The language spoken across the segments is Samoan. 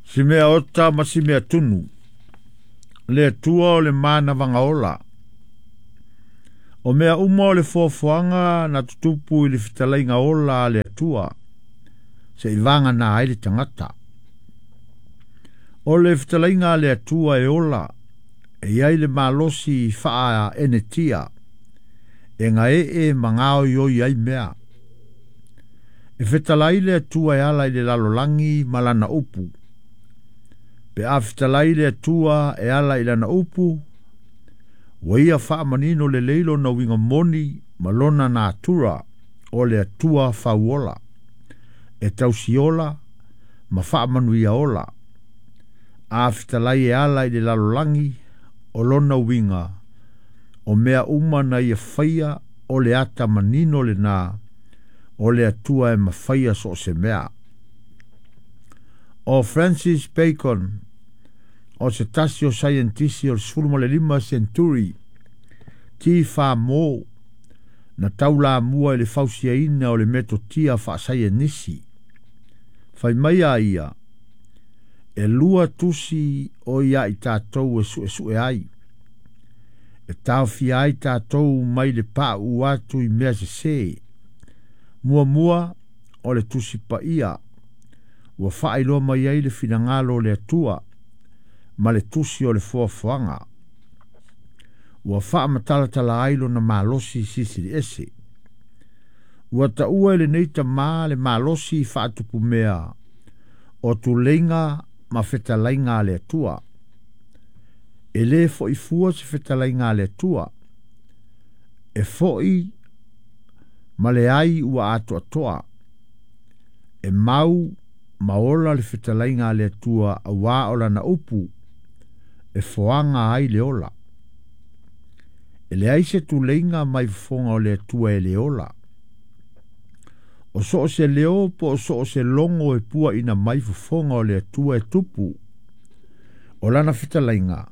Si mea ota ma si mea tunu. Le Atua o le manavaga ola. O mea uma o le foafoaga na tutupu i le fetalaiga ola a le Atua, seʻi vagana ai le tagata. O le fetalaiga a le Atua e ola, e iai le malosi faaenetia, e gaee ma gaoioi ai mea. E fetalai le Atua e ala i le lalolagi ma lana upu. Pe a fetalai le Atua e ala i lana upu, ua ia faamanino lelei lona uiga moni ma lona natura o le Atua fauola, e tausiola ma faamanuia ola. A fetalai e ala i le lalolagi, o lona uiga, o mea uma na ia faia o le ata manino lena, o le Atua e mafaia so o se mea. O Francis Bacon, o se tasi o saienitisi o le 15 senturi, ti wha na taulamua i le fausiaina o le metotia faasaienisi. Fai mai a ia, e lua tusi o ia i tātou e suesue ai. E taofia ai tātou mai le paʻu atu i mea sesē. Muamua o le Tusi Paia, ua faailoa mai ai le finagalo o le Atua ma le tusi o le foafoaga. Ua faamatalatala ai lona malosi silisili ese. Ua taua e lenei tamā le malosi faatupumea o tuleiga ma fetalaiga a le Atua. E lē foʻi fua se fetalaiga a le Atua. E foʻi ma le ai ua atoatoa. E mau ma ola le fetalaiga a le Atua auā o lana upu e foaga ai le ola. E leai se tuleiga mai fofoga o le Atua e le ola. O so o se leo po o so o se logo e puaʻina mai fofoga o le Atua e tupu. O lana fetalaiga,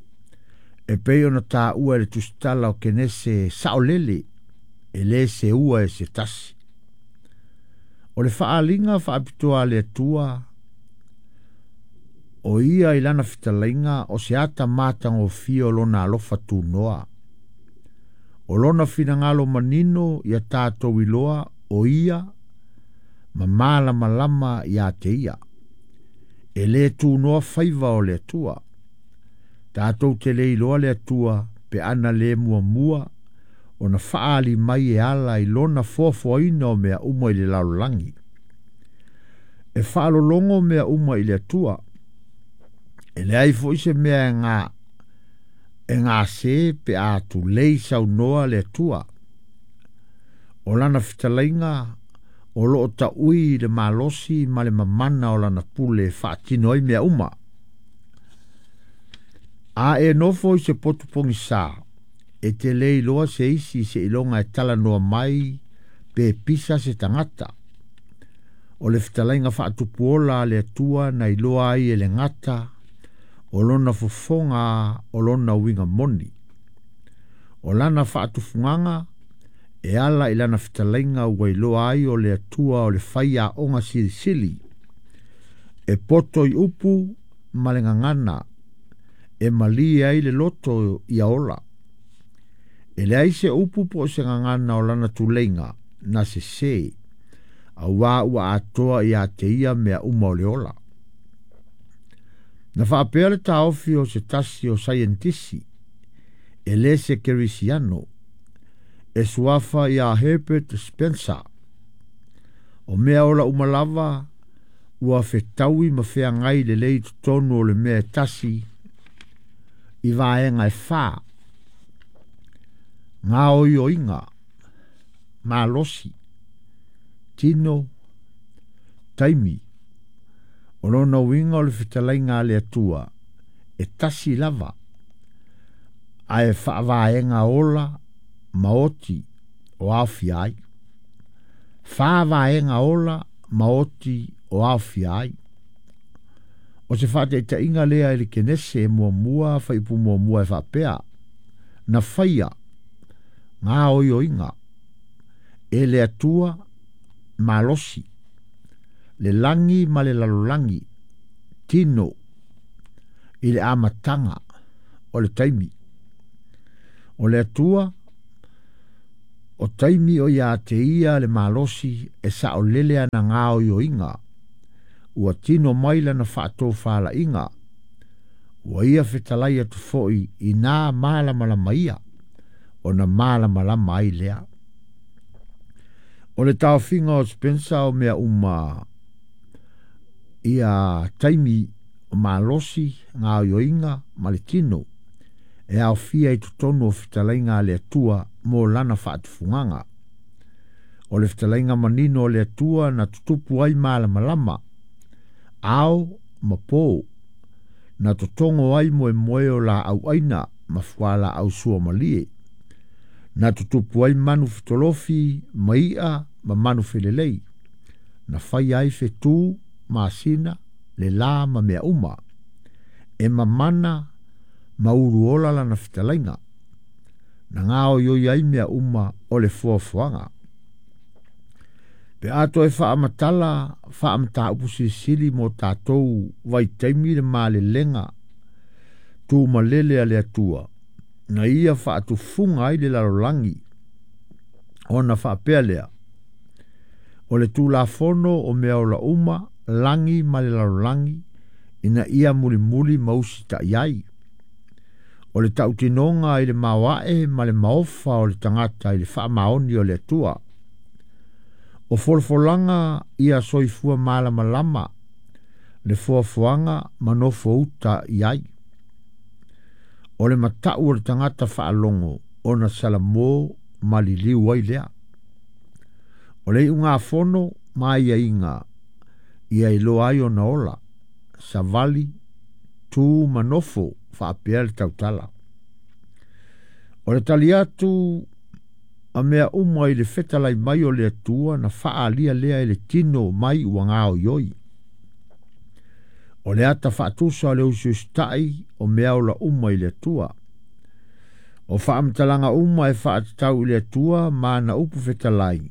e pei ona taua e le tusitala o Kenese saolele, e lē seua e se tasi. O le faaaliga faapitoa a le Atua, o ia i lana fetalaiga o se ata matagofie o lona alofa tunoa. O lona finagalo manino ia tatou iloa o ia ma malamalama ia te ia. E lē tunoa faiva o le Atua. Tatou te le iloa le Atua pe ana lē muamua ona faaali mai e ala i lona foafoaina o mea uma i le lalolagi. E faalologo mea uma i le Atua. E leai foʻi se mea e gase pe a tulei saunoa le Atua. O lana fetalaiga o loo taʻui i le malosi ma le mamana o lana pule e faatino ai mea uma. A e nofo i se potu pogisā, e te lē iloa se isi seiloga e talanoa mai pe pisa se tagata. O le fetalaiga faatupuola a le Atua na iloa ai e le gata o lona fofoga o lona uiga moni. O lana faatufugaga e ala i lana fetalaiga ua iloa ai o le Atua o le faiaoga silisili. E poto i upu ma le gagana, e malie ai le loto ia ola. E leai se upu po o se gagana o lana tuleiga na sesē, auā ua atoa ia te ia mea uma o le ola. Na faapea le taofi o se tasi o saienitisi, e lē se kerisiano, e suafa iā Herbert Spencer. O mea ola uma lava ua fetaui ma feagai lelei totonu o le mea e tasi i vaega e fa. Gaoioiga, malosi, tino, taimi. O lona uiga o le fetalaiga a le Atua, e tasi lava, ae faavaega ola ma oti o aofia ai. Fa vaega ola ma oti o aofia ai. O se faataitaiga lea i le Kenese 1 fuaiupu 1 e faapea, na faia gaoioiga e le Atua malosi, le lagi ma le lalolagi, tino. I le amataga o le taimi. O le Atua o taimi o ia te ia le malosi e saʻolele ana gaoioiga ua tino mai lana faatofalaiga ua ia fetalai atu foʻi i nā malamalama ia ona malamalama ai lea. O le taofiga o Spencer o mea uma ia taimi o malosi gaoioiga ma le tino e aofia i totonu o fetalaiga a le Atua mo lana faatufugaga. O le fetalaiga manino o le Atua na tutupu ai malamalama ao ma pō na totogo ai moemoe o laau aina ma fualaau suamalie na tutupu ai manu fetolofi ma i'a ma manu felelei na faia ai fetū masina le lā ma mea uma e mamana ma uluola lana fetalaiga na gaoioi ai mea uma o le foafoaga. Pe a toe faamatala faamataupu silisili mo tatou vaitaimi le malelega tumalele a le Atua na ia faatufuga ai le lalolagi ona faapea lea o le tulafono o mea ola uma lagi ma le lalolagi ina ia mulimuli ma usitaʻi ai. O le tautinoga i le maoae ma le maofa o le tagata i le faamaoni o le Atua. O folafolaga ia soifua malamalama le foafoaga ma nofo uta i ai. O le mataʻu o le tagata faalogo ona salamō ma liliu ai lea. O le iugafono ma aiaiga ia iloa ai ona ola savali tu ma nofo faapea le tautala. O le tali atu a mea uma i le fetalai mai o le Atua na faaalia lea i le tino mai ua gaoioi. O le ata faatusa o le usiusitaʻi o mea ola uma i le Atua. O faamatalaga uma e faatatau i le Atua ma ana upu fetalai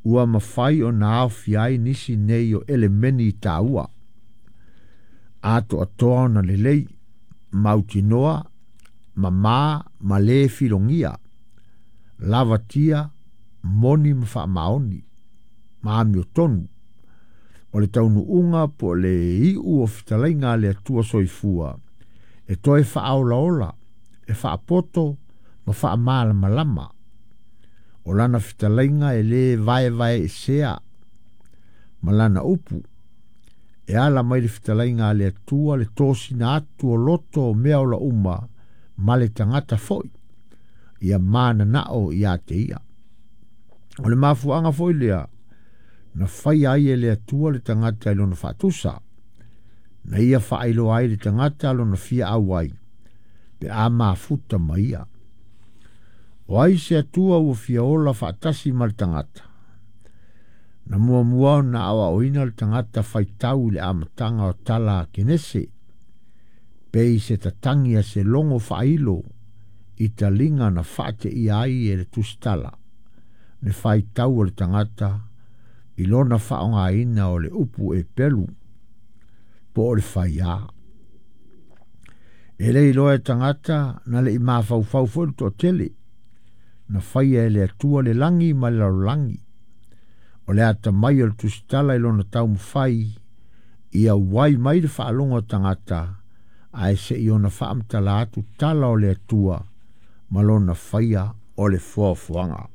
ua mafai ona aofia ai nisi nei o elemeni i tāua. Atoatoa ona lelei, mautinoa, mamā ma lē filogia, lavatia, moni ma faamaoni, ma amiotonu. O le taunuuga po o le iu o fetalaiga a le Atua soifua e toe faaolaola, e faapoto ma faamalamalama. O lana fetalaiga e lē vaevaeesea ma lana upu e ala mai le fetalaiga a le Atua le tosina atu o loto o mea ola uma ma le tagata foʻi ia mananao ia te ia. O le mafuaaga foi lea na faia ai e le Atua le tagata i lona faatusa na ia faailoa ai le tagata lona fia auai pe a mafuta ma ia. O ai se Atua ua fia ola faatasi ma le tagata. Na muamua ona aoaoina le tagata faitau i le amataga o tala a Kenese pei se tatagi a se logo faailo i taliga na faateia ai e le tusitala le faitau o le tagata i lona faaaogaina o le upu e pelu po o le faiā. E le iloa e tagata na le i mafaufau foi le toatele na faia e le Atua le lagi ma le lalolagi. O le atamai o le tusitala i lona taumafai ia uai mai le faalogo a tagata ae seʻi ona faamatala atu tala o le Atua ma lona faia o le foafoaga.